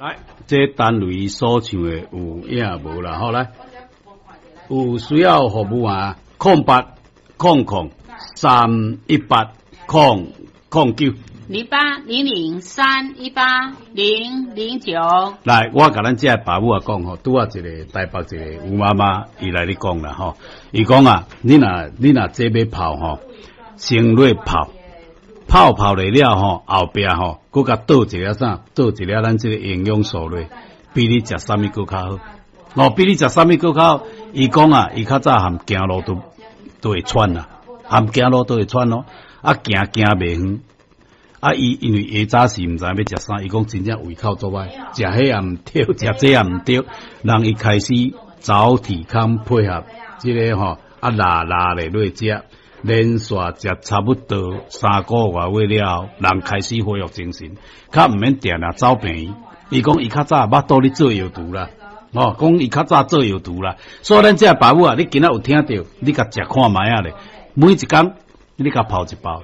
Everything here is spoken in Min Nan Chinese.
來，這單位所唱的有影無啦？好來，有需要服務啊，08000318009。 0800318009。來，我共咱這个爸母仔講吼，拄仔一个台北一个吳媽媽伊來咧講啦吼，伊講啊，你若這欲泡吼，先落泡，泡泡落了吼，後壁吼，閣共倒一粒啥，倒一粒咱這个營養素落，比你食啥物閣較好。哦，比你食啥物閣較好。伊講啊，伊較早含行路都會喘啦，含行路都會喘咯，啊行行袂遠。啊！伊因為下早時毋知影欲食啥，伊講真正胃口足歹，食彼也毋對，食這也毋對。人伊開始早體康配合這个吼，啊拉拉咧落食，連續食差不多3個外月了後，人開始恢復精神，較毋免定定走病院。伊講伊較早腹肚咧做藥毒啦，哦，講伊較早做藥毒啦。所以咱這爸母啊，你今仔有聽著，你共食看覓仔咧，每一工你共泡一包。